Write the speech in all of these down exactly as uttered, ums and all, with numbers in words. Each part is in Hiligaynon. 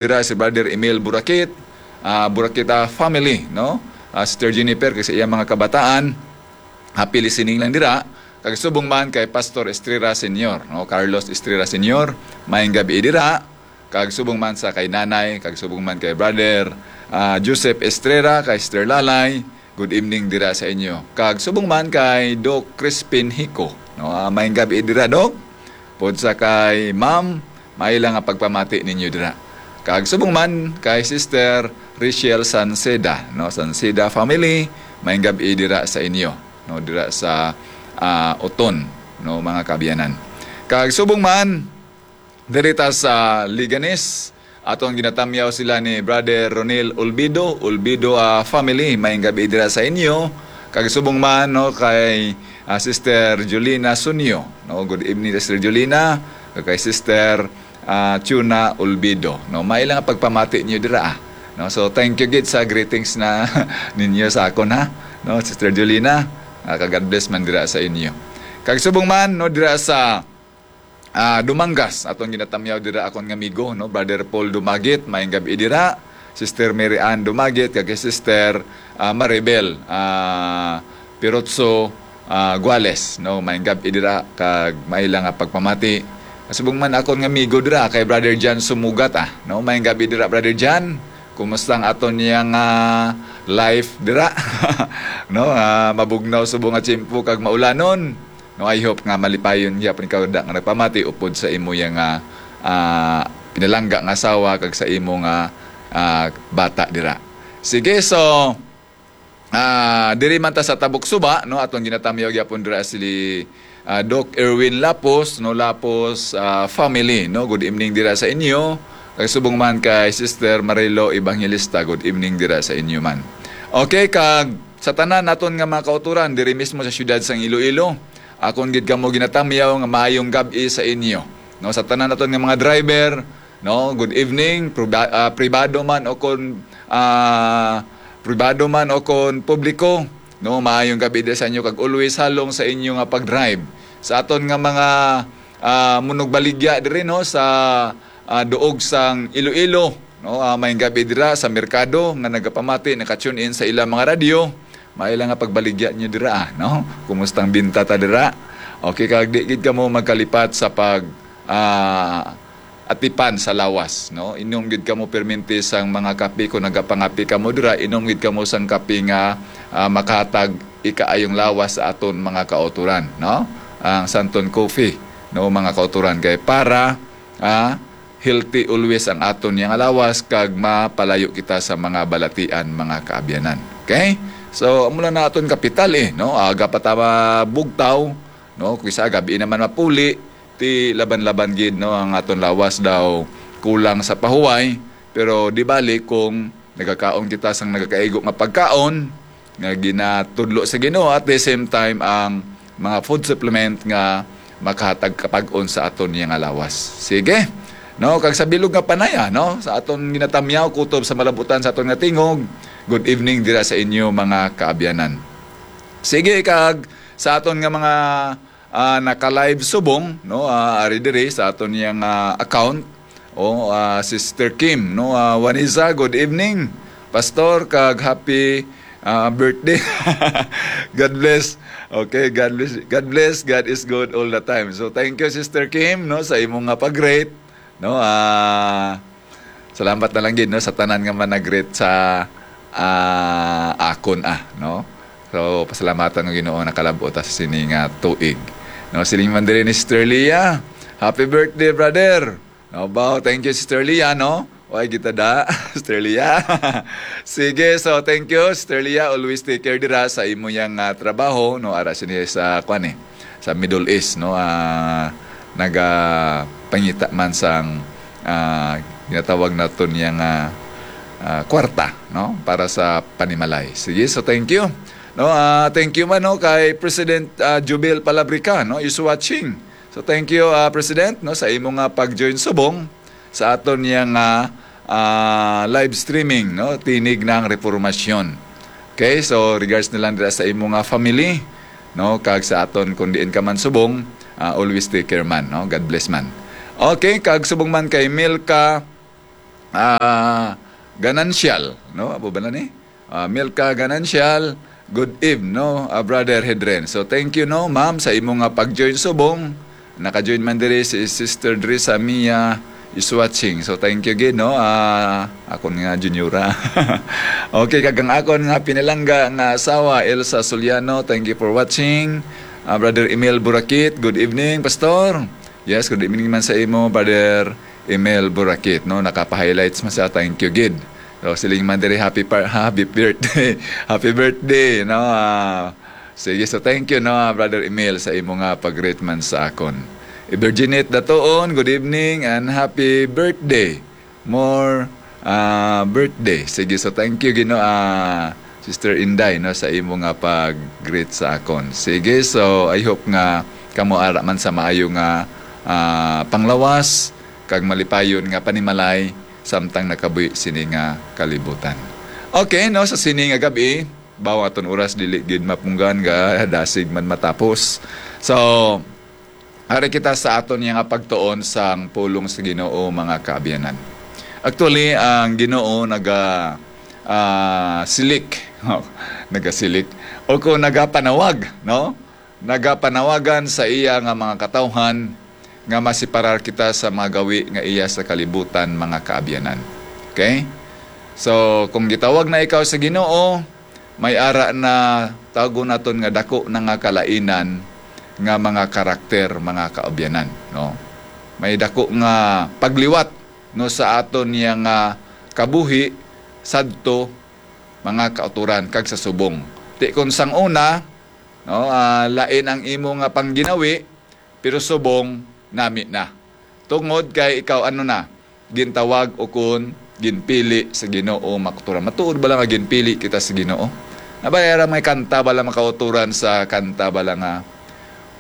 dira si Brother Emil Burakit, ah, Burakita family, no? Ah, Sister Jennifer, kag sa iyang mga kabataan, happy listening lang dira. Kag subong man kay Pastor Estrera Senior, no? Carlos Estrera Senior, maayong gabi dira. Kag subong man sa kay Nanay, kag subong man kay Brother, ah, Joseph Estrera, kay Sister Lalay, good evening dira sa inyo. Kag subong man kay Doc Crispin Hico, no? Ah, maayong gabi dira, Doc. Pod sa kay Ma'am, maila nga pagpamati ninyo dira. Kag subong man kay Sister Richelle Sanceda, no? Sanceda family, maayong gabi dira sa inyo, no? Dira sa, ah, Oton, no, mga kaabyanan. Kag subong man, diri ta sa Leganes, aton ginatamyaw sila ni Brother Ronel Olbido, Olbido, ah, family, maayong gabi dira sa inyo. Kag subong man, no, kay, ah, Sister Jolina Sunyo, no, good evening, Sister Jolina, kag kay Sister, ah, Chuna Olbido, no, maila nga pagpamati niyo dira, ah. No, so thank you gid sa greetings na ninyo sa akon, ha, no, Sister Jolina, ah, kag God bless man dira sa inyo. Kag subong man, no, dira sa, ah, Dumangas, aton ginatamyaw dira akon nga amigo, no, Brother Paul Dumagit, maayong gabi dira, Sister Mary Ann Dumagit, kag kay Sister, ah, Maribel, ah, Pirotso, ah, Guales, no, maayong gabi dira, kag maila nga pagpamati. Subong man akon nga amigo dira kay Brother John Sumugat, ah, no, maayong gabi dira, Brother John. Kumusta ang aton niya nga life dira? No, ah, mabugnaw subong nga tiyempo kag maulanon. No, I hope nga malipayon gyapon ikaw da nga nagpamati upod sa imo yang, ah, ah, pinalangga nga asawa kag sa imo nga, ah, bata dira. Sige, so, ah, diri man ta sa Tabok Suba, no, aton ginatamyaw gyapon dira si, ah, Doc Erwin Lapos, no, Lapos, ah, family, no. Good evening dira sa inyo. Kag subong man kay Sister Marilo Evangelista, good evening dira sa inyo man. Okay, kag sa tanan naton nga mga kauturan diri mismo sa siyudad sang Iloilo, akon gid kamo ginatamyaw nga maayong gab-i sa inyo. No, sa tanan naton nga mga driver, no, good evening, proba-, ah, pribado man o kon, ah, pribado man o kon publiko, no, maayong gab-i diri sa inyo kag always halong sa inyo nga pag-drive. Sa aton nga mga, ah, munugbaligya diri, no, sa, ah, duog sang Iloilo, no, ah, maayong gab-i dira sa merkado nga nagapamati, naka-tune in sa ilang mga radyo. Maila nga pagbaligya niyo dira, ah, no? Kumusta ang binta ta dira? Okay, kag di gid kamo magkalipat sa pag, ah, atipan sa lawas, no? Inom gid kamo perminti sang mga kape. Kung nagapangape kamo dira, inom gid kamo sang kape nga, ah, makahatag ikaayong lawas sa aton mga kauturan, no? Ang Santon Coffee, no, mga kauturan, kay para, ah, healthy always ang aton yang lawas kag mapalayo kita sa mga balatian, mga kaabyanan. Okay? So, amo lang na aton kapital, eh, no? Aga pa ta mabugtaw, no? Kung isa gabi naman mapuli, ti laban-laban gid, no, ang aton lawas daw kulang sa pahuway, pero di bali kung nagakaon kita sang nagakaigo nga pagkaon nga ginatudlo sa Ginoo, at the same time ang mga food supplement nga makahatag kapag-on sa aton niya nga lawas. Sige. No, kag sa bilog nga panaya, no, sa aton ginatamyaw kutob sa malabutan sa aton nga tingog. Good evening dira sa inyo, mga kaabyanan. Sige, kag sa aton nga mga, ah, naka-live subong, no, ah, ari diri sa aton yang, ah, account. Oh, ah, Sister Kim, no, ah, Wanisa, good evening, Pastor, kag happy, ah, birthday. God bless. Okay, God bless. God bless. God is good all the time. So thank you, Sister Kim, no, sa imo nga pag-greet, no. Ah, salamat na lang gid, no, sa tanan nga manag-greet sa, ah, akon, ah, no. So pasalamatan ko Ginoo, nakalab-ot ta sa sini nga tuig. No, siling man diri ni Sister Leah, "Happy birthday, brother." No, baw, thank you, Sister Leah, no? Way kita da, Sister Leah. Sige, so thank you, Sister Leah. Always take care dira sa imo yang, ah, trabaho, no? Ara sini sa, kwan, eh, sa Middle East, no? Ah, nagapangita man sang, ah, ginatawag naton yang, ah, ah, kwarta, no? Para sa panimalay. Sige, so thank you. No, ah, thank you man, no, kay President, ah, Jubel Palabrica, no? Is watching. So thank you, ah, President, no, sa imo nga pag-join subong sa aton yang, ah, ah, live streaming, no, Tinig ng Reformasyon. Okay, so regards na lang dira sa imo nga family, no, kag sa aton kung diin ka man subong, ah, always take care man, no. God bless man. Okay, kag subong man kay Milka ah, Ganancial, no? Abo ba na ni? Ah, Milka Ganancial, good eve, no? Ah, Brother Hedren. So, thank you, no, ma'am, sa imo nga pag-join subong. Naka-join man diri si Sister Drisa Mia is watching. So, thank you gid, no? Ah, akon nga juniora. Okay, kag ang akon nga pinalangga nga asawa, Elsa Soliano, thank you for watching. Ah, Brother Emil Burakit, good evening, Pastor. Yes, good evening man sa imo, Brother Emil Burakit, no? Nakapa-highlights man siya, thank you gid. So, siling man diri, happy par-, happy birthday. Happy birthday, no? Ah, sige, so thank you, no, ah, Brother Emil, sa imo nga pag-greet man sa akon. Virginit Datuon, good evening and happy birthday. More, ah, birthday. Sige, so thank you, Gino, ah, Sister Inday, no, sa imo nga pag-greet sa akon. Sige, so I hope nga kamo ara man sa maayo nga, ah, panglawas kag malipayon nga panimalay samtang nakabuhi sini nga kalibutan. Okay, no, sa sini nga gabi, bawo aton oras dili gid mapunggan nga dasig man matapos. So, ari kita sa aton nga pagtuon sang pulong sa Ginoo, mga kaabyanan. Actually, ang Ginoo naga, ah, silik. Nagasilik. O kung nagapanawag, no? Nagapanawagan sa iya nga mga katawhan nga masiparar kita sa mga gawi nga iya sa kalibutan, mga kaabyanan. Okay? So, kung gitawag na ikaw sa Ginoo, may ara na, tawgon naton nga, dako na nga kalainan nga mga karakter, mga kaabyanan, no? May dako nga pagliwat, no, sa aton niya nga kabuhi sadto, mga kauturan, kag sa subong. Ti kon sang una, no, ah, lain ang imo nga pangginawi, pero subong nami na. Tungod kay ikaw, ano na, gintawag o kun ginpili sa Ginoo, makauturan. Matuod bala nga ginpili kita sa Ginoo? Nabaya ra may kanta bala, makauturan, sa kanta bala nga,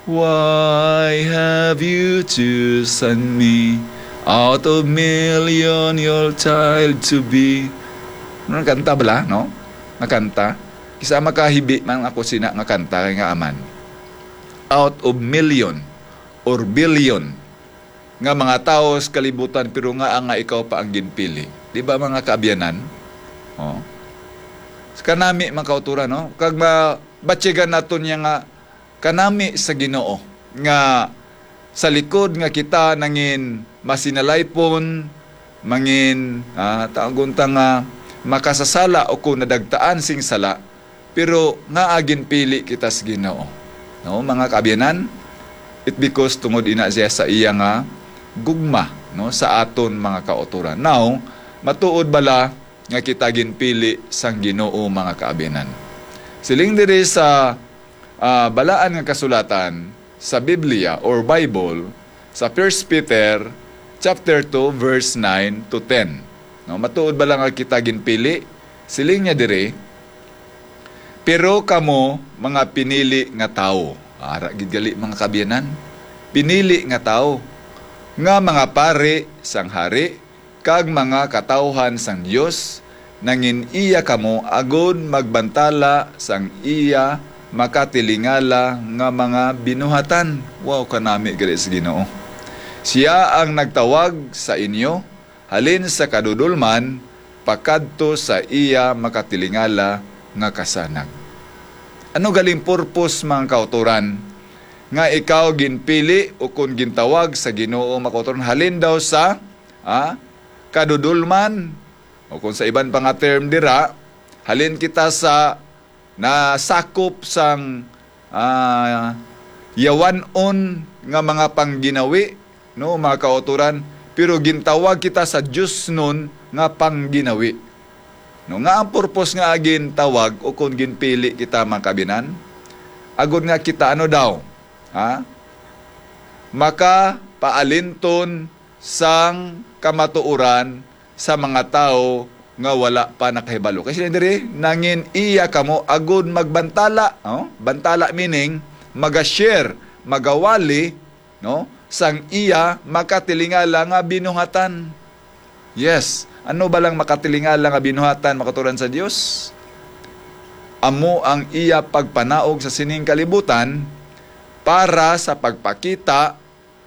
"Why have you chosen me out of million, your child to be?" Ano, kanta bala, no? Nga kanta. Kisa makahibi man ako sina nga kanta kay nga aman. Out of million or billion nga mga tawo sa kalibutan, pero nga, nga ikaw pa ang ginpili. Di ba, mga kaabyanan? Oh. Kanami, mga kauturan, no? Kag mabatyagan naton niya nga kanami sa Ginoo, nga sa likod nga kita nangin masinalaypon, mangin, ah, tawgon ta nga makasasala o kung nadagtaan sing sala, pero nga ginpili kita sa Ginoo. No, mga kaabyanan, it because tungod ina siya sa iya nga gugma, no, sa aton mga kauturan. Now, matuod bala nga kita ginpili sang Ginoo, mga kaabyanan? Siling diri sa, ah, balaan nga kasulatan sa Biblia or Bible, sa First Peter chapter two, verse nine to ten. No, matuod bala nga kita ginpili? Siling niya diri, "Pero kamo, mga pinili nga tawo," ara gid gali, mga kaabyanan, "pinili nga tawo, nga mga pari sang hari, kag mga katawhan sang Dios, nangin-iya kamo agod magbantala sang iya makatilingala nga mga binuhatan." Wow, kanami gali sa Ginoo. "Siya ang nagtawag sa inyo halin sa kadudolman pakadto sa iya makatilingala nga kasanag." Ano galing purpose, mga kauturan, nga ikaw ginpili o kon gintawag sa Ginoo, mga kauturan, halin daw sa, ah, kadudolman, o kung sa iban pa nga term dira, halin kita sa nasakop sang, ah, yawan-on nga mga pangginawi, no, mga kauturan, pero gintawag kita sa diosnon nga pangginawi. No, nga ang purpose nga gintawag o kung ginpili kita, mga kaabyanan, agod nga kita, ano daw, ha? Makapaalinton sang kamatuoran sa mga tawo nga wala pa nakahibalo. Kasi diri, nangin-iya kamo agud magbantala, oh? Bantala meaning, maga-share, magawali, no? Sang iya makatilingala nga binuhatan. Yes, ano ba lang makatilingala nga binuhatan, makaturan sa Dios? Amo ang iya pagpanaog sa sining kalibutan para sa pagpakita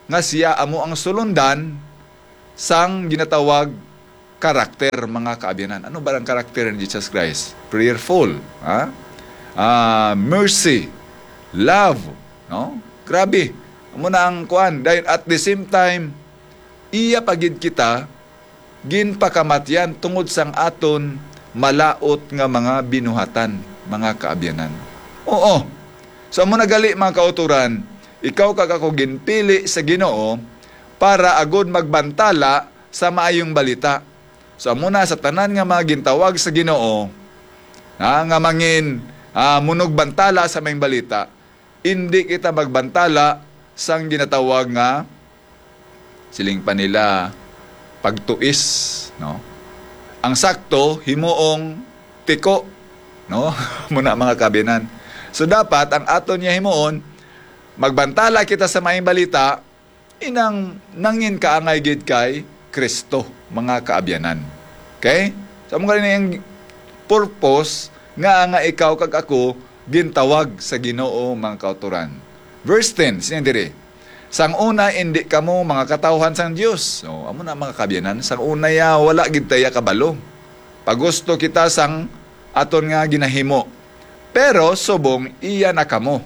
nga siya amo ang sulundan sang ginatawag karakter, mga kaabyanan. Ano ba ang karakter ni Jesus Christ? Prayerful, ha? Ah, mercy, love, no? Grabe. Amo na ang kuan. Dahil at the same time, iya pa gid kita ginpakamatyan tungod sang aton malaut nga mga binuhatan, mga kaabyanan. Oo. So, amo na gali, mga kautoran, ikaw kag ako ginpili sa Ginoo para agud magbantala sa maayong balita. So, amo na sa tanan nga mga gintawag sa Ginoo, ha, nga mangin, ah, munugbantala sa maayong balita, indi kita magbantala sang ginatawag nga, siling pa nila, pagtuis, no? Ang sakto, himuong tiko, no? Muna, mga kaabyanan. So, dapat ang aton niya himuon, magbantala kita sa maayong balita, inang nangin kaangay gid kay Kristo, mga kaabyanan. Okay? So, amo gani ang purpose nga, nga ikaw kag ako gintawag sa Ginoo, mga kautoran. Verse ten, sining diri, "Sang una, indi kamo mga katawhan sang Dios." So, amo na, mga kaabyanan, sang una ya, wala gid ta ya kabalo. Pagusto kita sang aton nga ginahimo. Pero subong iya na kamo.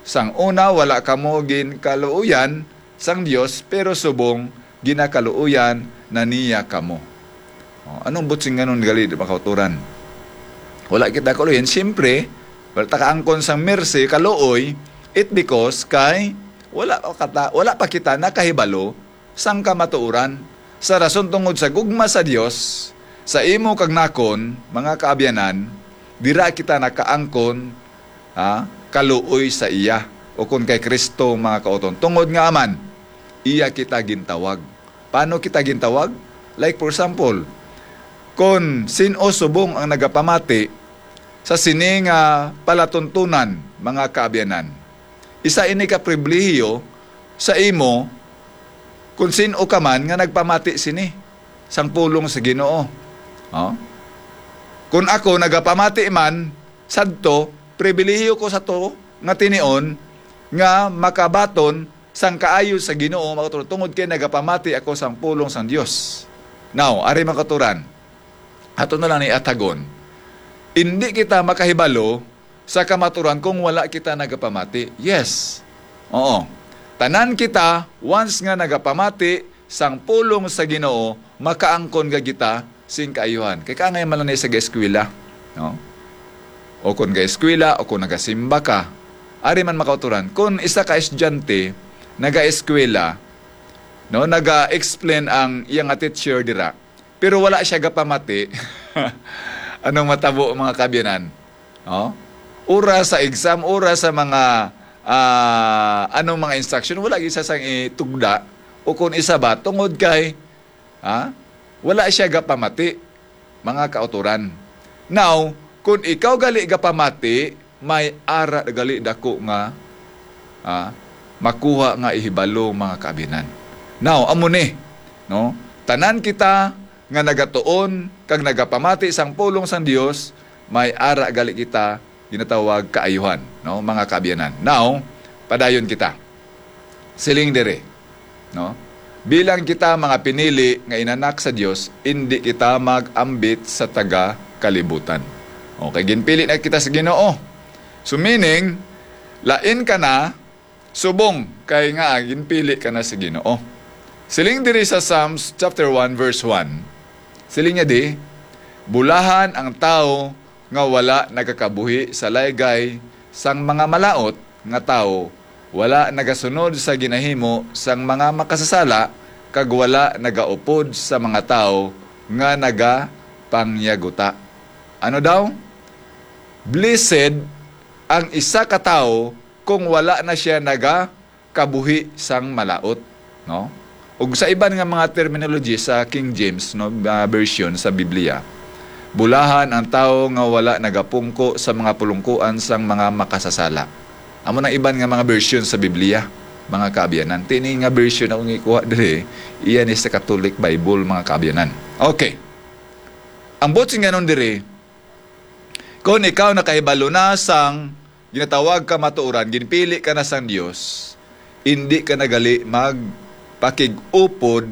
Sang una, wala kamo ginkaluoyan sang Dios, pero subong ginakaluoyan na niya kamo. O, anong butsinganon gali, mga kautoran? Wala kita kaluoyan. Siyempre, wala ta kaangkon sang mercy, kaluoy, it because kay wala pa kata, wala pa kita nakahibalo sang kamatuoran. Sa rason tungod sa gugma sa Dios, sa imo kag nakon, mga kaabyanan, dira kita nakaangkon, ha, kaluoy sa iya, o kon kay Kristo, mga kauton. Tungod nga aman, iya kita gintawag. Paano kita gintawag? Like, for example, kon sin-o subong ang nagapamati sa sini nga palatuntunan, mga kaabyanan, isa ini ka pribilehiyo sa imo kon sin-o ka man nga nagpamati sini sang pulong sa Ginoo. Oh? Kon ako nagapamati man sadto, pribilehiyo ko sa to nga tinion nga makabaton sang kaayo sa Ginoo, mga kauturan, tungod kay nagapamati ako sang pulong sang Dios. Now, ari, mga kauturan, ato na lang ni atagon. Indi kita makahibalo sa kamaturan kung wala kita nagapamati. Yes. Oo. Tanan kita, once nga nagapamati sang pulong sa Ginoo, makaangkon gid kita sing kaayuhan. Kay kaangay man lang ni sa eskwela, no? O kon ga-eskwela, o kon nagasimba ka, ari man, mga kauturan. Kon isa ka estudyante nagaeskwela, no, naga-explain ang iya nga teacher dira, pero wala siya gapamati, anong matabo, mga kaabyanan? No? Ura sa exam, ura sa mga, ah, anong mga instruction, wala gid siya sang itugda. O kung isa ba, tungod kay, ha? Wala siya gapamati, mga kauturan. Now, kung ikaw gali gapamati, may ara gali dako nga, ah, makuha nga ihibalo, mga kaabyanan. Now, amo ni, no? Tanan kita nga nagatuon kag nagapamati sang pulong sang Dios, may ara gali kita ginatawag kaayuhan, no, mga kaabyanan. Now, padayon kita. Siling diri, no? Bilang kita mga pinili nga inanak sa Dios, indi kita mag-ambit sa taga kalibutan. Okay, ginpili na kita sa Ginoo. So meaning, lain ka na subong kay nga ginpili ka na sa Ginoo. Siling diri sa Psalms chapter one verse one, siling niya di, "Bulahan ang tawo nga wala nagakabuhi sa laygay sang mga malaut nga tawo, wala nagasunod sa ginahimo sang mga makasasala, kag wala nagaupod sa mga tawo nga nagapangyaguta." Ano daw? Blessed ang isa ka tawo kung wala na siya nagakabuhi sang malaut, no? Ug sa iban nga mga terminology sa King James, no, ah, version sa Biblia, "Bulahan ang tawo nga wala nagapungko sa mga pulungkuan sang mga makasasala." Amo nang iban nga mga version sa Biblia, mga kaabyanan. Tini nga version akong ikuha diri, iya ni sa Catholic Bible, mga kaabyanan. Okay. Ang butsinganon diri, kung ikaw nakahibalo na sang ginatawag kamatuoran, ginpili ka na sang Dios, indi ka na gali magpakig-upod,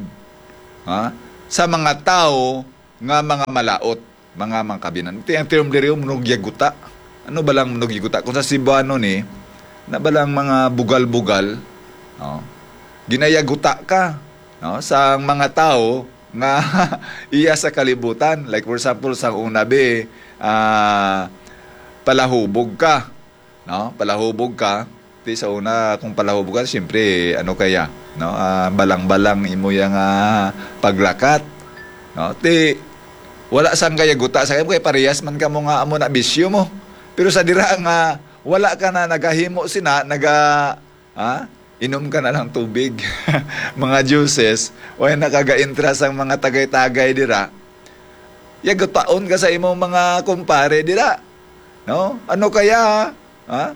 ha, sa mga tawo nga mga malaot, mga mangkabinan. Ti ang term diri, manugyaguta. Ano ba lang manugyaguta? Kung sa Cebuano ni, na ba lang mga bugal-bugal, no? Ginayaguta ka, no? Sa mga tao nga iya sa kalibutan. Like, for example, sa una, be, ah, palahubog ka, no? Palahubog ka. Ti sa una, kung palahubog ka, siyempre, ano kaya, no? Ah, balang-balang imo yang, ah, paglakat, no? Ti, wala sang kayaguta sa kay parehas man kamo nga amo na bisyo mo. Pero sa dira nga wala ka na nagahimo sina, naga, ha? Inom ka na lang tubig, mga juices, o nakaga-intra sang mga tagay-tagay dira. Yagutaon ka sa imong mga kumpare dira. No? Ano kaya? Ha?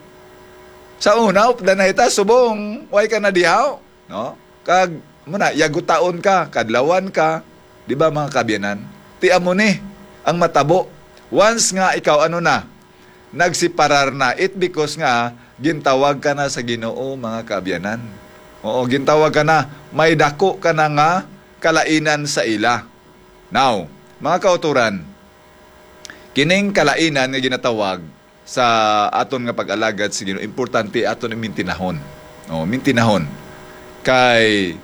Sa una, updan na ita, subong, way ka na dihaw. No? Kag, muna, yagutaon ka, kadlawan ka. Di ba, mga kabyanan? Ti amo ni, ang matabo. Once nga ikaw, ano na, nagsiparar na. It because nga, gintawag ka na sa Ginoo, mga kabyanan. Oo, gintawag ka na, may dako ka na nga kalainan sa ila. Now, mga kauturan, kining kalainan nga ginatawag sa aton nga pag-alagad sa Ginoo, importante aton mintinahon. Oh, mintinahon. Kay,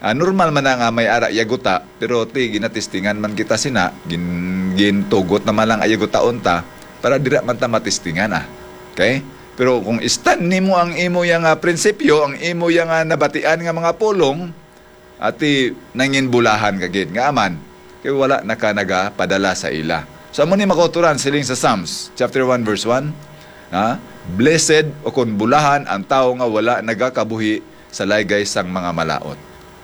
ah, normal man na nga may ara yaguta, pero ti ginatestingan man kita sina, gin, gintugot naman lang ayagutaon ta para dira man ta matestingan, ah. Okay? Pero kung istan nimo ang imo yang, ah, prinsipyo, ang imo yang, ah, nabatian nga mga pulong, ati nangin bulahan ka gid nga aman kay wala na ka nagapadala sa ila. So amo ni makauturan siling sa Psalms chapter one verse one, ha? Blessed o kon bulahan ang tawo nga wala nagakabuhi sa laygay sang mga malaot.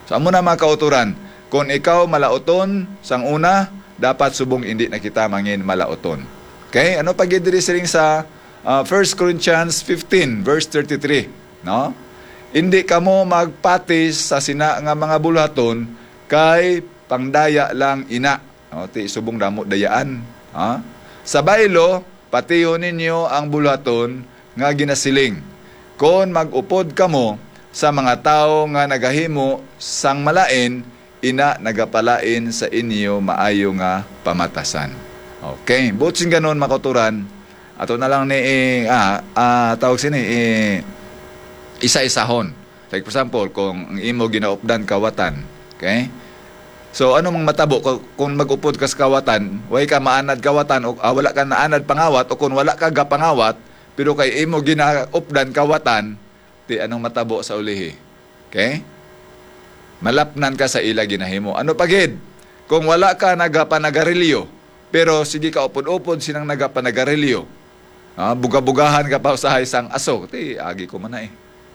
So amo na, mga kauturan, kung ikaw malaoton sang una, dapat subong indi na kita mangin malaoton. Okay? Ano pa gid diri siling sa, ah, First Corinthians fifteen verse thirty-three, no? Indi kamo magpati sa sina nga mga buluhaton, kay pangdaya lang ina. No? Ti subong damo dayaan. Ha? Sa baylo, patihon ninyo ang buluhaton nga ginasiling, kon mag-upod kamo sa mga tawo nga nagahimo sang malain, ina nagapalain sa inyo maayo nga pamatasan. Okay, buot sing ganon, mga kauturan, ato na lang ni, eh, ah, ah, tawag sini, eh, isa-isahon. Like, for example, kung ang imo ginaupdan kawatan, okay? So, ano mang matabo ko-, kung mag-upod ka sa kawatan, way ka maanad kawatan, o, ah, wala ka naanad pangawat, o kung wala ka gapangawat, pero kay imo ginaupdan kawatan, ti anong matabo sa ulihi? Okay? Malapnan ka sa ila ginahimo. Ano pa gid? Kung wala ka nagapanagarilyo, pero sige ka upod-upod sinang nagapanagarilyo. Ah, buga-bugahan ka pa usahay sang aso. Ti, agi ko man na eh.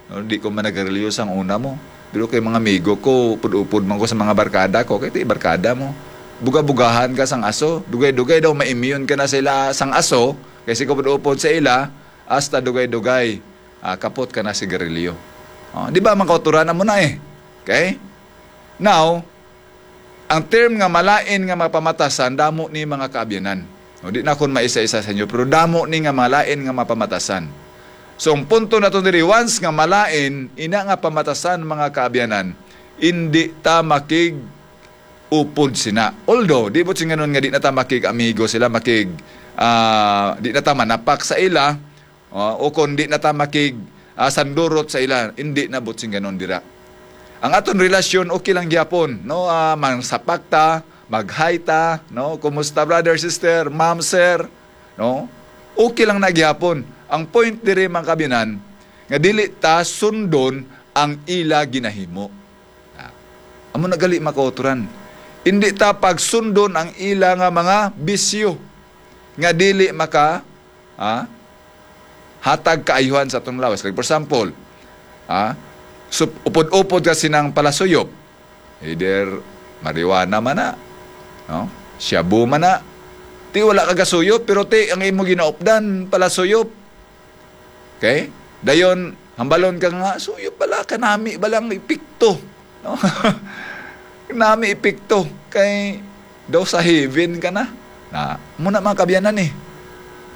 No, di ko man nagarilyo sang una mo. Pero kay mga amigo ko, upod-upod man ko sa mga barkada ko. Kay ti, barkada mo. Buga-bugahan ka sang aso. Dugay-dugay daw, ma-immune ka na sila sang aso. Kay sige ka upod-upod sa ila, hasta dugay-dugay, ah, kapot ka na sigarilyo. Oh, di ba, mga kauturan mo na eh. Okay? Now, ang term nga malain nga mapamatasan, damo ni, mga kaabyanan. No, di na kon maisa-isa sa inyo, pero damo ni nga malain nga mapamatasan. So, ang punto nato diri, once nga malain, ina nga pamatasan, mga kaabyanan, indi ta makig-upod sina. Although, di buot sing ganon nga di na ta makig-amigo sila, makig, ah, di na ta manapak sa ila, ah, o kon di na ta makig, ah, sandurot sa ila, indi na buot sing ganon dira. Ang aton relasyon, okay lang gyapon, no? Ah, mangsapak ta, mag-hi ta, no? Kumusta, brother, sister, ma'am, sir? No? Okay lang na gyapon. Ang point diri, mga kaabyanan, nga dili ta sundon ang ila ginahimo. Ah, amo na gali, mga kauturan. Indi ta pagsundon ang ila nga mga bisyo nga dili maka, ah, hatag kaayuhan sa atong lawas. Like, for example, ah, sup-, upod-upod ka sinang palasuyop. Either marijuana man na, no? Shabu man na. Ti wala ka gasuyop, pero ti ang imo ginaupdan, palasuyop. Okay? Dayon, hambalon ka nga, suyop bala, kanami balang epekto. No? Nami epekto. Kay daw sa heaven ka na. Na, muna, mga kaabyanan eh.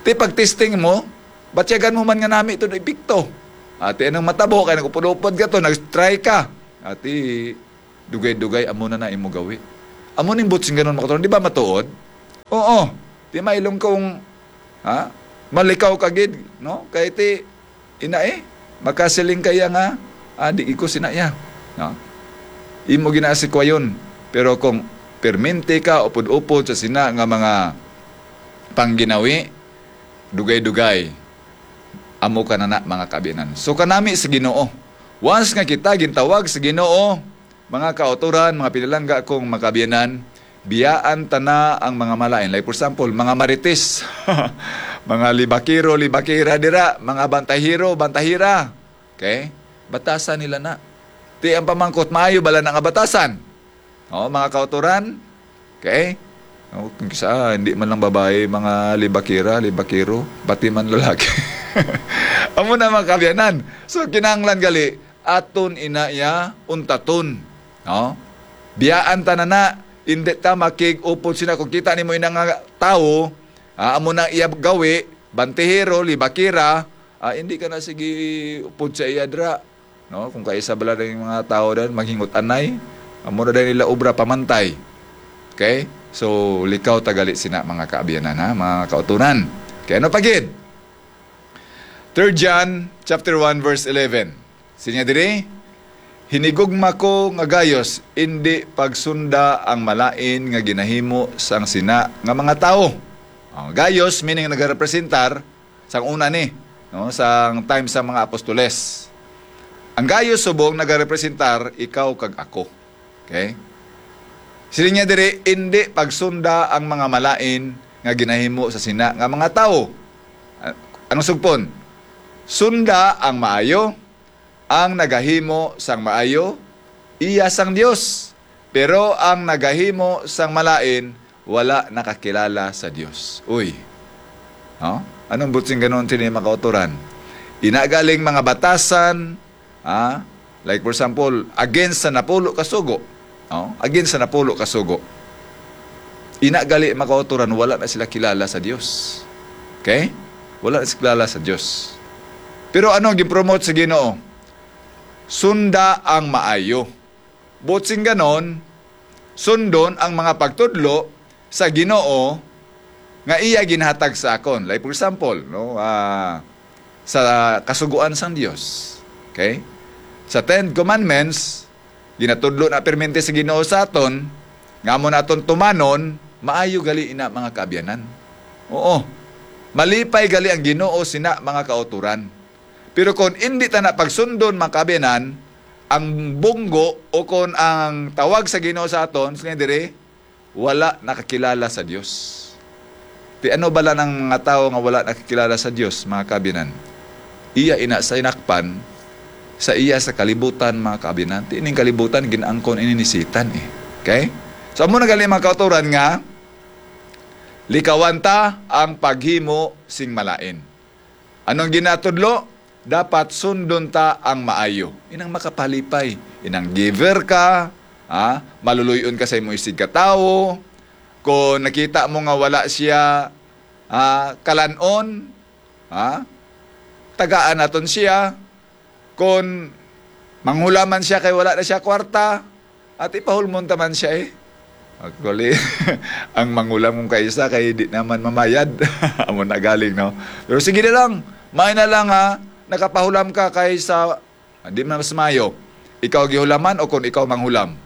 Ti pag-testing mo, batyagan mo man nga nami to epekto. Ati, anong matabo? Kay nag-upod-upod ka to, nag-try ka. Ati, dugay-dugay, amo na na imo gawi. Amo ning buot sing ganon, mga kauturan, di ba matuod? Oo. Di mailong kung, ha? Malikaw ka gid, no? Kay ti, ina eh, makasiling kaya nga, ah, di ko sina iya, no? Imo ginasikwayon. Pero kung permente ka, upod-upod sa sina nga mga pangginawi, dugay-dugay, amo ka na na, mga kaabyanan. So, kanami sa Ginoo. Once nga kita gintawag sa Ginoo, mga kauturan, mga pinalangga kong mga kaabyanan, biyaan ta na ang mga malain. Like, for example, mga marites, mga libakero, libakera dira, mga bantahero, bantahera. Okay? Batasan nila na. Ti ang pamangkot, maayo bala na nga batasan? Oh, mga kauturan? Okay? Oh, kung kisa, hindi man lang babae, mga libakera, libakero, pati man lalaki. Amo na, mga kaabyanan. So, kinahanglan gali, aton ina iya untaton. No? Biyaan ta na na, hindi ta makig-upod sina. Kung kita nimo ina nga tawo, ah, amo nang iya gawi, bantihero, libakera, ah, hindi ka na sige upod sa iya dra. No? Kung kaisa bala ning mga tawo dan, maghingot-anay, amo na din nila obra pamantay. Okay? So, likaw ta gali sina, mga kaabyanan, ha? Mga kauturan. Kaya ano pa gid? Third John chapter one, verse eleven. Sinya diri, "Hinigugma ko nga Gayos, indi pagsunda ang malain nga ginahimo sang sina nga mga tawo." Oh, Gayos, meaning nagarepresentar sang una ni, no, sang time sa mga apostoles. Ang Gayos subong nagarepresentar ikaw kag ako. Okay? Siling niya diri, "Indi pagsunda ang mga malain nga ginahimo sa sina nga mga tawo." Ah, ang sugpon, "Sunda ang maayo, ang nagahimo sang maayo, iya sang Dios, pero ang nagahimo sang malain wala nakakilala sa Dios." Uy. No? Anong buot sing ganon sini, mga kauturan? Ina galing mga batasan, ah, like, for example, against sa napulo ka sugo. No? Against sa napulo ka sugo. Ina gali, mga kauturan, wala na sila kilala sa Dios. Okay? Wala na sila kilala sa Dios. Pero ano ang gin-promote sa Ginoo? Sunda ang maayo. Buot sing ganon, sundon ang mga pagtudlo sa Ginoo nga iya ginhatag sa akon. Like, for example, no, ah, sa kasugoan sang Dios. Okay? Sa Ten Commandments, ginatudlo na permente sa Ginoo sa aton, nga amo naton tumanon, maayo gali ina, mga kaabyanan. Oo. Malipay gali ang Ginoo sina, mga kauturan. Pero kon indi ta na pagsundon, mga kaabyanan, ang bunggo o kon ang tawag sa Ginoo sa aton, sini diri, wala nakakilala sa Dios. Ti ano bala nang mga tawo nga wala nakakilala sa Dios, mga kaabyanan? Iya ina sa inakpan, sa iya sa kalibutan, mga kaabyanan. Ti ining kalibutan, gin-angkon ini ni Satan eh. Okay? So, amo na gali, mga kauturan, nga likawan ta ang paghimo sing malain. Anong ginatudlo? Dapat sundon ta ang maayo. Inang makapalipay, inang giver ka, ha? Maluluy-on ka sa imong isigkatawo. Kung nakita mo nga wala siya, ha, kalan-on, ha? Tagaan naton siya. Kung manghulaman siya kay wala na siya kwarta, at ipahulmon ta man siya eh. Actually, ang manghulam kung kaisa kay di naman mamayad. Amo na galing, no? Pero sige na lang, may na lang ha, nakapahulam ka kay sa, di man mas mayo. Ikaw gihulaman o kung ikaw manghulam?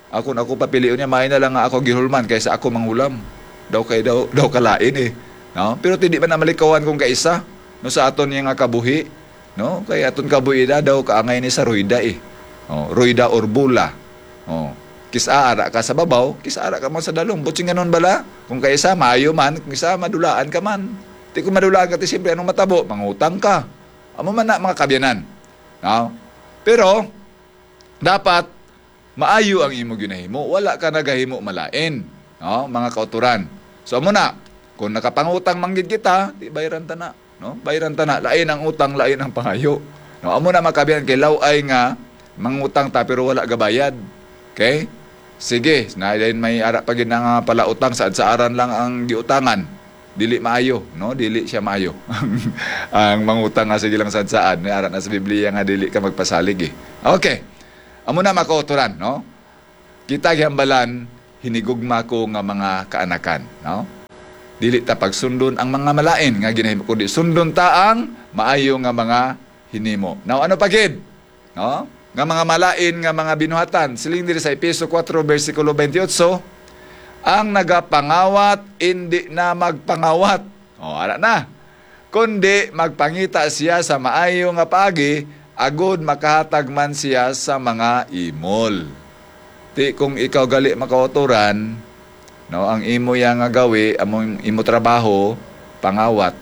Ako na ako papilion niya, may na lang nga ako gihulman kaysa ako manghulam. Daw kay daw, daw kalain eh. No? Pero ti di man na malikawan kung kaisa, no, sa aton niya nga kabuhi, no? Kay aton kabuhi na daw kaangay ni sa ruyda eh. Oh, ruyda or bula. Oh, kis-a ara ka sa babaw, kis-a ara ka man sa dalom. Buot sing ganon bala, kung kaisa maayo man, kung isa madulaan ka man. Ti kung madulaan ka, ti siyempre anong matabo? Mangutang ka. Amo man na, mga kabyanan. No? Pero dapat maayo ang imo ginahimo, wala ka nagahimo malain, no, mga kauturan. So, amo na, kung nakapangutang man gid kita, di bayran ta na, no? Bayran ta na, lain ang utang, lain ang pangayo. No, amo na, mga kabyanan, kay law-ay nga mangutang ta pero wala gabayad. Okay? Sige, na din may ara pa gid nga palautang, saad-saaran lang ang giutangan. Dili maayo, no? Dili siya maayo. Ang mangutang nga sige lang saad-saaran, may ara na sa Biblia nga dili ka magpasalig eh. Okay. Amo na, mga kauturan, no? Kita gihambalan, hinigugma ko nga mga kaanakan, no? Dili ta pagsundon ang mga malain nga ginahimo, kundi sundon ta ang maayo nga mga hinimo. Now, ano pa gid? No? Nga mga malain nga mga binuhatan. Siling diri sa Efeso four, bersikulo twenty-eight, "Ang nagapangawat, indi na magpangawat." O, ara na. "Kundi magpangita siya sa maayo nga paagi, agud makahatag man siya sa mga imol." Ti kung ikaw gali makauturan, no, ang imo ya nga gawi, amo imo trabaho, pangawat.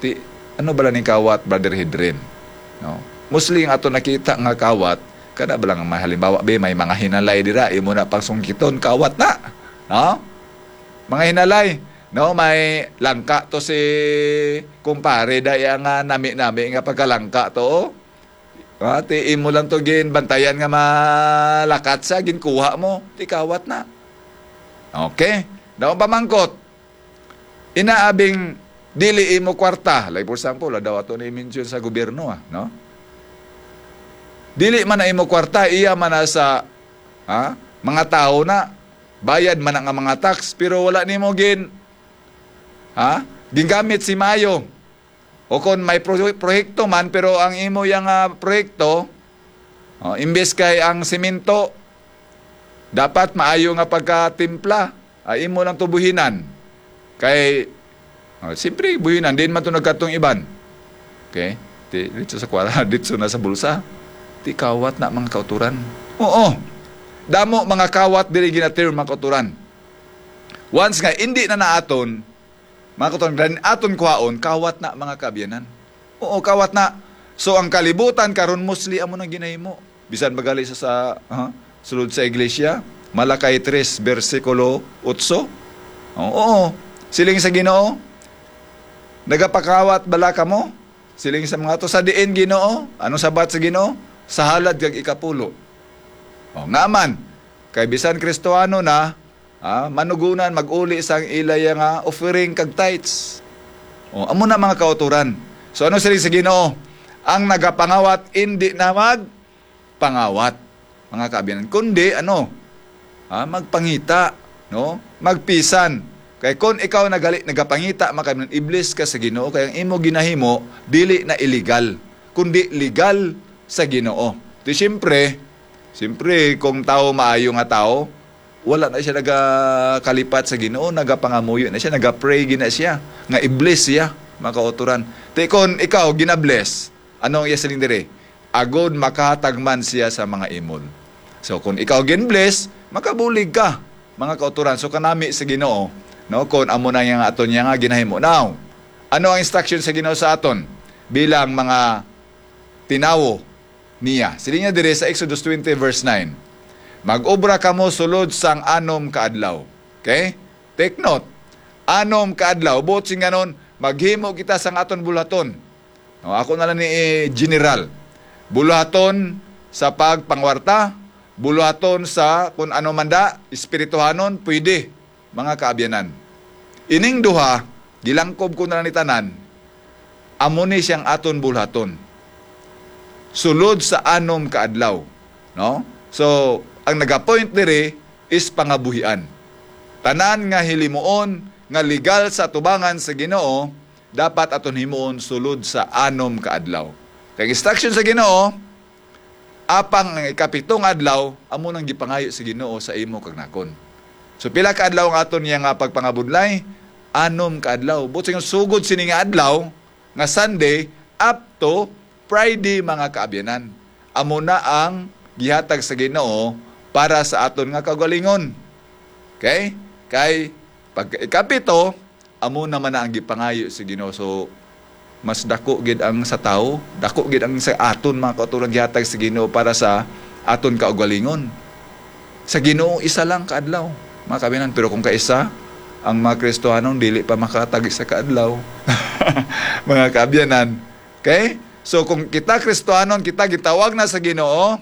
Ti ano bala ning kawat, Brother Hedrin? No? Mostly ang ato nakita nga kawat, kada bala nga may halimbawa, be, may mga hinalay dira, imo na pang sungkiton, kawat na. No? Mga hinalay, no, may langka to si kumpare, daya nga nami-nami nga pagkalangka to, oh. Ah, ti imo lang to ginbantayan nga malakat siya, ginkuha mo, ti kawat na. Okay? Daw pamangkot, inaabing dili imo kwarta, like for example, ah, daw ato ni mention sa gobyerno, ah, no? Dili man na imo kwarta, iya man na sa, ha, mga tao na, bayad man na nga mga tax, pero wala nimo gin, ha, gingamit si maayo. O kon may pro-, proyekto man, pero ang imo yang, ah, proyekto, oh, imbes kay ang semento, dapat maayo nga pagkatimpla, ay imo lang to buhinan. Kay, oh, siyempre, buhinan, din man to nagkatong iban. Okay? Di, dito sa kwara, dito na sa bulsa. Ti kawat na, mga kauturan. Oo. Damo, mga kawat, diri ginatir, mga kauturan. Once nga, hindi na naaton, mga kauturan, aton kuhaon, kawat na, mga kaabyanan. Oo, kawat na. So, ang kalibutan karon mostly amo nang ginahimo. Bisan ba gali sa, sa, ha? Sulod sa iglesia, Malakay tres, bersikulo otso. Oo, oo. Siling sa Ginoo, "Nagapakawat bala kamo?" Siling sa mga to, "Sa diin, Ginoo?" Anong sabat sa Ginoo? "Sa halad kag ikapulo." O, nga man, kay bisan Kristohanon na, ah, manugunan mag-uli sang ilaya nga offering kag tithes. O, amo na, mga kauturan. So, ano siling sa Ginoo? "Ang nagapangawat, indi na magpangawat," mga kaabyanan, kundi, ano, ah, magpangita, no? Magpisan. Kay kung ikaw nagali nagapangita, mga kaabyanan, i-bless ka sa Ginoo, kay ang imo ginahimo dili na illegal, kundi legal sa Ginoo. Ti siyempre, siyempre, kung tawo maayo nga tawo, wala na siya nagakalipat sa Ginoo, nagapangamuyo na siya, nagapray gid na siya, nga i-bless siya, mga kauturan. Ti kon ikaw gina-bless, ano ang iya siling diri? "Agod makahatag man siya sa mga imol." So, kung ikaw gin-bless, makabulig ka, mga kauturan. So, kanami sa Ginoo, no, kung amo na nga aton niya nga ginahimo. Now, ano ang instruction sa Ginoo sa aton bilang mga tinawo niya? Siling niya diri sa Exodus twenty, verse nine, "Mag-obra kamo sulod sang anom ka adlaw." Okay? Take note. Anom ka adlaw. Buot silingon, maghimo kita sang aton buluhaton. No, ako na lang ni, eh, general. Buluhaton sa pagpangwarta, buluhaton sa kun ano man da, espirituhanon, pwede, mga kaabyanan. Ining duha, gilangkob ko na lang ni tanan, amo ni siyang aton buluhaton. Sulod sa anom ka adlaw, no? So, ang nagapoint diri is pangabuhian. Tanan nga hilimuon nga legal sa atubangan sa Ginoo, dapat aton himuon sulod sa anom ka adlaw. Kay instruction sa Ginoo, apang ang ikapito nga adlaw, amo nang gipangayo sa Ginoo sa imo kag nakon. So, pila ka adlaw ang aton niya nga pagpangabudlay? Anom ka adlaw. Buot silingon, sugod sini nga adlaw, nga Sunday, up to Friday, mga kaabyanan. Amo na ang gihatag sa Ginoo para sa aton nga kaugalingon. Okay? Kay pagka ikapito, amo naman na ang gipangayo sa Ginoo. So, mas dako gid ang sa tawo, dako gid ang sa aton, mga kauturan, gihatag sa Ginoo para sa aton kaugalingon. Sa Ginoo, isa lang ka adlaw, mga kaabyanan. Pero kung kaisa, ang mga Kristohanon dili pa makatag isa ka adlaw, mga kaabyanan. Okay? So, kung kita Kristohanon, kita gitawag na sa Ginoo,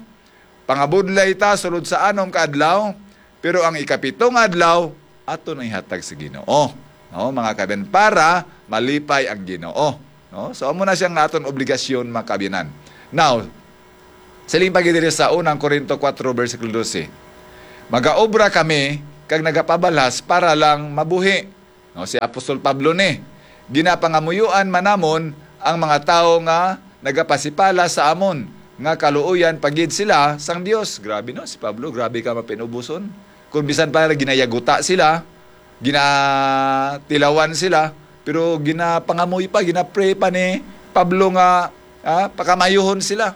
pangabudlay ta sulod sa anom ka adlaw, pero ang ikapito nga adlaw, ato nang ihatag sa Ginoo. No, mga kaabyanan, para malipay ang Ginoo. No? So, amo na siya nga aton obligasyon, mga kaabyanan. Now, siling pa gid diri sa unang Corinto four, bersikulo dose, "Magaobra kami, kag nagapabalhas para lang mabuhi. No, si Apostol Pablo ni, "Ginapangamuyoan man namon ang mga tawo nga nagapasipala sa amon nga kaluoyan pa gid sila sang Dios." Grabe, no? Si Pablo, grabe ka mapinubuson. Kung bisan pa ginayaguta sila, ginatilawan sila, pero ginapangamuy pa, ginapray pa ni Pablo nga, ah, pakamayuhon sila.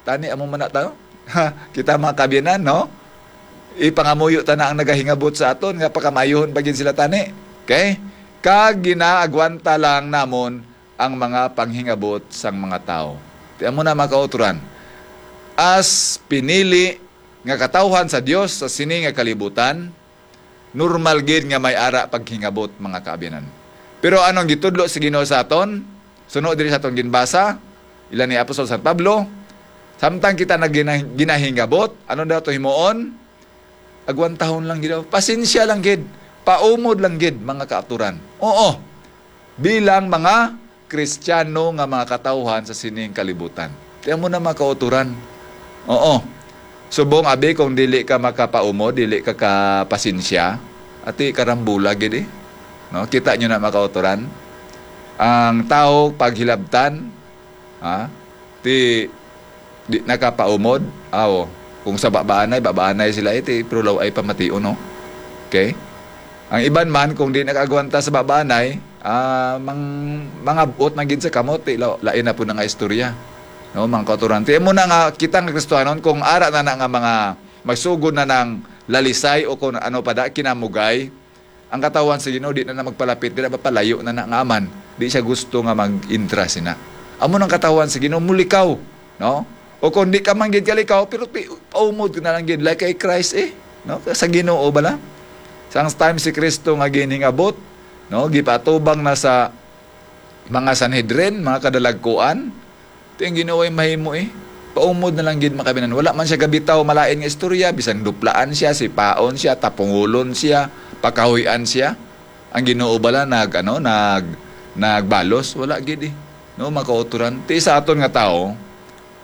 Tani, amo man na ta, no? Kita, mga kaabyanan, no? Ipangamuyo ta na ang nagahingabot sa aton nga pakamayuhon pa gid sila, tani. Okay? Kag ginaagwanta lang namon ang mga panghingabot sang mga tawo. Ti amo na, mga kauturan. As pinili nga katawhan sa Dios sa sini nga kalibutan, normal gid nga may ara paghingabot, mga kaabyanan. Pero anong gitudlo sa Ginoo sa aton? Suno diri sa aton ginbasa, ila ni Apostol San Pablo, samtang kita nag-, gina-, ginahingabot, ano daw to himuon? Agwantahon lang gid daw. Pasensya lang gid. Paumod lang gid, mga kaaturan. Oo. Bilang mga Kristiyano nga mga katawhan sa sining kalibutan. Ti amo na, mga kauturan. Oo. Subong abi kung dili ka makapaumod, dili ka kapasensya, ati karambula gid eh. No? Kita nyo na, mga kauturan. Ang tawo paghilabtan, ha? Ti di nakapaumod, aw, kung sa babaanay, babaanay sila iti, pero law ay pamation, no? Okay? Ang iban man, kung di nakaagwanta sa babaanay, ah, mang-, mangabot na gid sa kamot, ti, law, lain na po na nga istorya. No, mga kauturan. Ti, amo na nga, kita nga Kristohanon, kung ara na na nga mga magsugod na ng lalisay o kung ano pa da, kinamugay, ang katawhan sa Ginoo di na, na magpalapit, di na mapalayo na na nga man. Di siya gusto nga mag-intra sina. Amo nang katawhan sa Ginoo, mulikaw, no? O kung di ka man gid kalikaw, pero pi-, paumod ka na lang gid, like kay Christ eh, no? Sa Ginoo bala. Sang time si Kristo nga ginhingabot, no? Gipatubang na sa mga Sanhedrin, mga kadalagkuan, ti ang Ginoo ay mahimo eh. Paumod na lang gid, mga kaabyanan. Wala man siya gabitaw malain nga istorya, bisan duplaan siya, sipaon siya, tapungulon siya, pakahuy-an siya. Ang Ginoo bala nag, ano, nag, nagbalos, wala gid eh. No, mga kauturan. Ti sa aton nga tawo,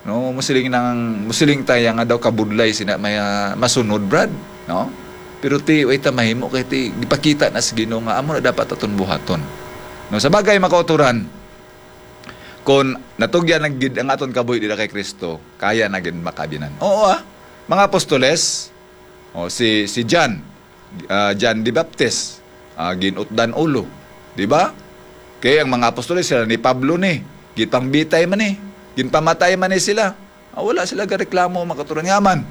no, musiling nang, musiling tayo nga daw kabudlay sina may, ah, masunod, Brad, no? Pero ti, way ta mahimo kay ti, gipakita na sa Ginoo nga amo na dapat aton buhaton. No, sa bagay, mga kauturan, kung natugyan na gid ang aton kabuhi dira kay Kristo, kaya na gid, mga kaabyanan. Oo, ah. Mga apostoles, o, si, si John, ah, John the Baptist, ah, ginutdan ulo, di ba? Kay ang mga apostoles, sila ni Pablo ni, ginpangbitay man ni, ginpamatay man ni sila. Ah, wala sila gareklamo, mga kauturan. Nga man,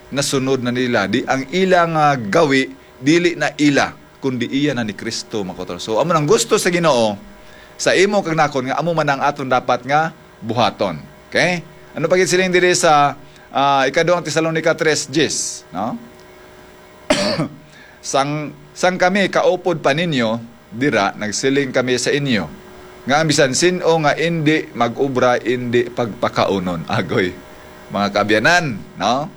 nasunod na nila. Di ang ilang, ah, gawi, dili na ila, kundi iya na ni Kristo, mga kauturan. So, amo nang gusto sa Ginoo, sa imo kag nakon, nga amo man ang aton dapat nga buhaton. Okay? Ano pa gid siling diri sa, ah, ikaduhang Tesalonica tres diez, no? Sang, sang kami kaupod pa ninyo dira, nagsiling kami sa inyo, nga ang bisan sin-o nga indi mag-obra, indi pagpakaunon. Agoy, mga kaabyanan, no?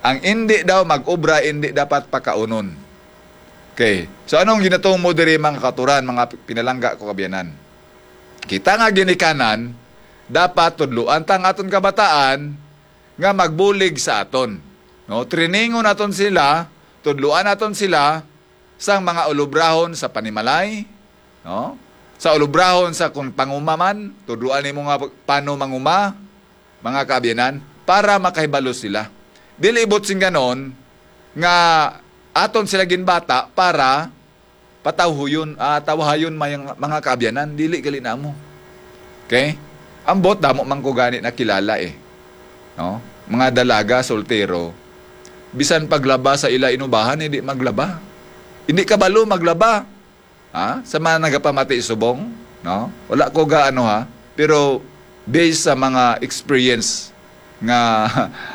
Ang indi daw mag-obra, indi dapat pakaunon. Okay. So, anong ginatumo diri, mga kauturan, mga pinalangga ko, kaabyanan? Kita nga ginikanan, dapat tudloan ta ang aton kabataan nga magbulig sa aton. No, trainingon naton sila, tudloan naton sila sang mga ulobrahon sa panimalay, no? Sa ulobrahon sa kung panguma man, tudloan nimo nga pano manguma, mga kaabyanan, para makahibalo sila. Dili ibot sing ganon nga aton sila ginbata para patawhuyon, ah, tawhayon may mga kaabyanan, dili gali namo. Okay? Ambot damo man ko gani nakilala eh. No? Mga dalaga, soltero, bisan paglaba sa ila inubahan, hindi maglaba. Hindi kabalo maglaba. Ha? Sa mga nagapamati subong, no? Wala ko ga ano ha, pero based sa mga experience nga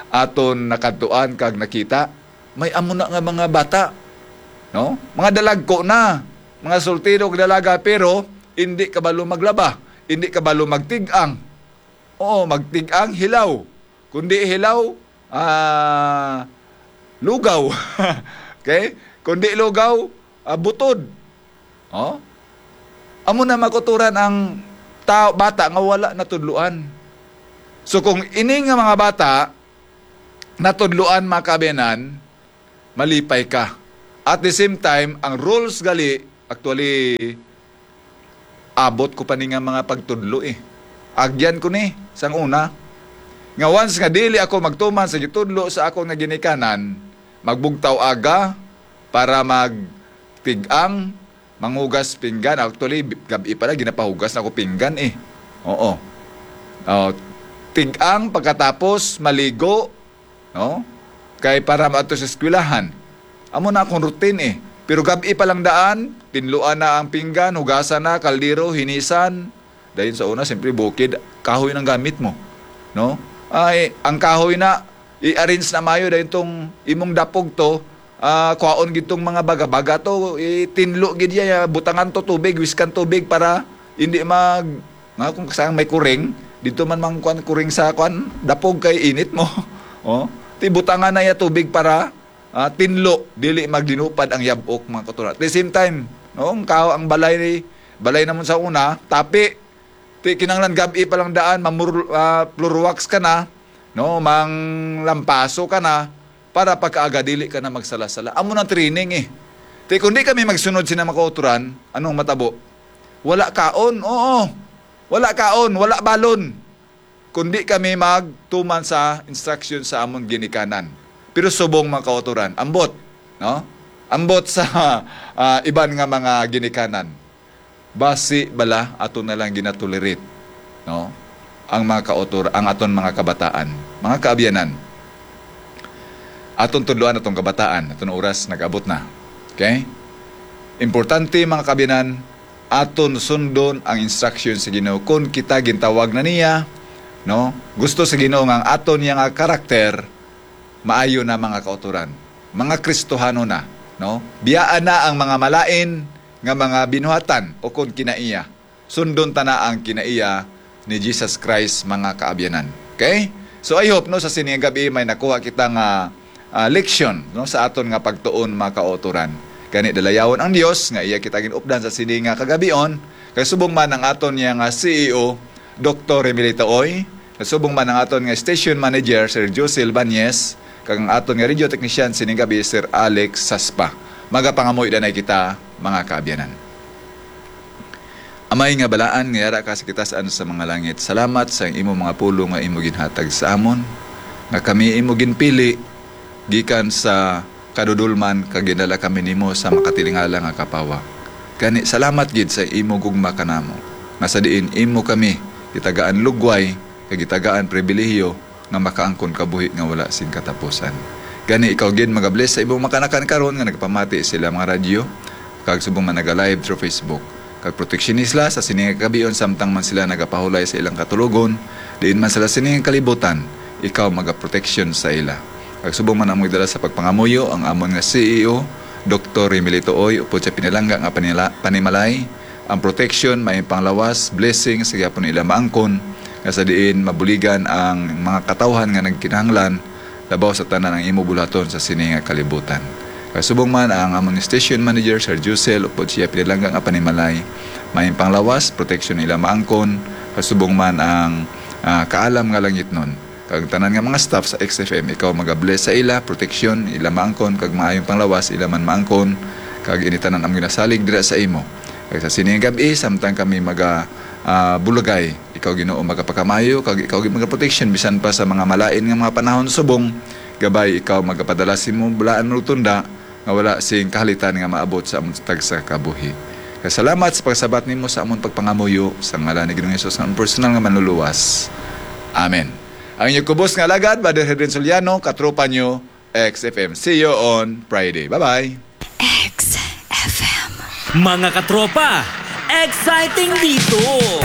aton nakadtuan kag nakita, may amo na nga mga bata, no? Mga dalagko na, mga soltero ug dalaga, pero hindi kabalo maglaba, hindi kabalo magtig-ang. Oo, magtig-ang hilaw. Kundi hilaw, ah, lugaw. Okay? Kundi lugaw, ah, butod. Oh? Amo na makuturan ang tao, bata nga wala natudloan. So kung ini nga mga bata natudloan, mga kaabyanan, malipay ka. At the same time, ang rules gali, actually, abot ko pa ni nga mga pagtudlo eh. Agyan ko ni, sang una. Nga once nga dili ako magtuman sa gitudlo sa akon nga ginikanan, magbugtaw aga para magtig-ang, manghugas pinggan. Actually, gab-i pala, ginapahugas na ko pinggan eh. Oo. Oh, tig-ang, pagkatapos, maligo, no? Kay para maadto sa eskwelahan. Amo na akong routine eh. Pero gab-i pa lang daan, tinluan na ang pinggan, hugasan na, kaldero, hinisan. Dayon sa una, siyempre, bukid, kahoy nang gamit mo, no? Ay, ang kahoy na, i-arrange na mayo, dayon tong imong dapog to, ah, kwaon gid tong mga baga-baga to, itinlo gid ya, butangan to tubig, wiskan tubig para hindi mag, nga kung saan may kuring, dito man mang kuan, kuring sa kuan, dapog kay init mo. Oh, ti butangan na ya tubig para, ah, tinlo, dili maglinupad ang yabok, mga kauturan. At the same time, no, ang kao, ang balay, balay namon sa una, tapi, ti kinahanglan gab-i pa lang daan, mamur-, ah, floor wax ka na, no, mang lampaso ka na, para pagkaaga dili ka na magsala-sala. Amo nang training eh. Ti kung di kami magsunod sina mga kauturan, anong matabo? Wala kaon, oo. Wala kaon, wala balon. Kung di kami magtuman sa instruction sa amon ginikanan. Pero subong mga kauturan, ambot, no? Ambot sa ah, iban nga mga ginikanan. Basi bala ato na lang ginatolerate, no? Ang mga kautor, ang aton mga kabataan, mga kaabyanan. Aton tudloan atong kabataan, aton oras nag-abot na. Okay? Importante, mga kaabyanan, aton sundon ang instruction sa Ginoo. Kung kita gintawag na niya, no? Gusto sa Ginoo nga ang aton niya nga karakter maayo na, mga kautoran, mga Kristohanon na, no? Biyaan na ang mga malain nga mga binuhatan o kon kinaiya. Sundon ta na ang kinaiya ni Jesus Christ, mga kaabyanan. Okay? So I hope, no, sa sini nga gabi may nakuha kita nga ah, leksyon, no, sa aton nga pagtuon, mga kautoran. Gani dalayawon ang Dios nga iya kita ginupdan sa sini nga kagabion, kay subong man ang aton niya nga C E O, Doktor Remilito Oy, kay subong man ang aton nga station manager, Sir Josel Banyes, kag ang aton nga radio technician sining gabi, Sir Alex Saspa. Magapangamuy danay kita, mga kaabyanan. Amay nga balaan nga yara ka sa kitasan sa mga langit, salamat sa imo mga pulong nga imo ginhatag sa amon, nga kami imo ginpili gikan sa kadudolman, kag ginala kami nimo sa makatilingala nga kapawa. Gani, salamat gid sa imo gugma kanamo, nga sa diin imo kami gitagaan lugway kag gitagaan pribilehiyo nga makaangkon kabuhi nga wala sing katapusan. Gani, ikaw gid magabless sa imong makanakan karon nga nagapamati sila mga radyo, kag subong man naga-live through Facebook. Kag proteksyon sila sa sini nga kabion, samtang man sila nagapahulay sa ilang katulogon, diin man sila sini nga kalibutan, ikaw magaproteksyon sa ila. Kag subong man ang magdala sa pagpangamuyo ang amon nga C E O, Doktor Remilito Oy, upod sa pinalangga nga panila-, panimalay, ang protection, may panglawas, blessing, sa gyapon ila maangkon, nga sa diin mabuligan ang mga katawhan nga nagkinahanglan, labaw sa tanan ang imo buluhaton sa sini nga kalibutan. Kag subong man ang amon station manager, Sir Josel, upod siya pinalangga nga panimalay, may panglawas, protection ila maangkon, kag subong man ang ah, kaalam nga langitnon. Kag tanan nga mga staff sa X F M, ikaw magabless sa ila, proteksyon, ila maangkon, kag maayong panglawas, ila man maangkon, kag ini tanan ang ginasalig dira sa imo. Kag sa sini nga gab-i, samtang kami maga ah, bulagay, ikaw Ginoo magapakamayo, kag ikaw gid magaproteksyon bisan pa sa mga malain nga mga panahon subong gabay, ikaw magapadala sa imo bulaan nga tunda nga wala sing kahalitan nga maabot sa amon tagsa ka buhi. Kag salamat sa pagsabat nimo sa amon pagpangamuyo, sa ngalan ni Ginoong Hesus nga amon personal nga Manluluwas. Amen. Ang inyo kubos nga alagad, Brother Hedrin Soliano, katropa nyo, X F M. See you on Friday. Bye-bye. X F M. Mga katropa, exciting dito!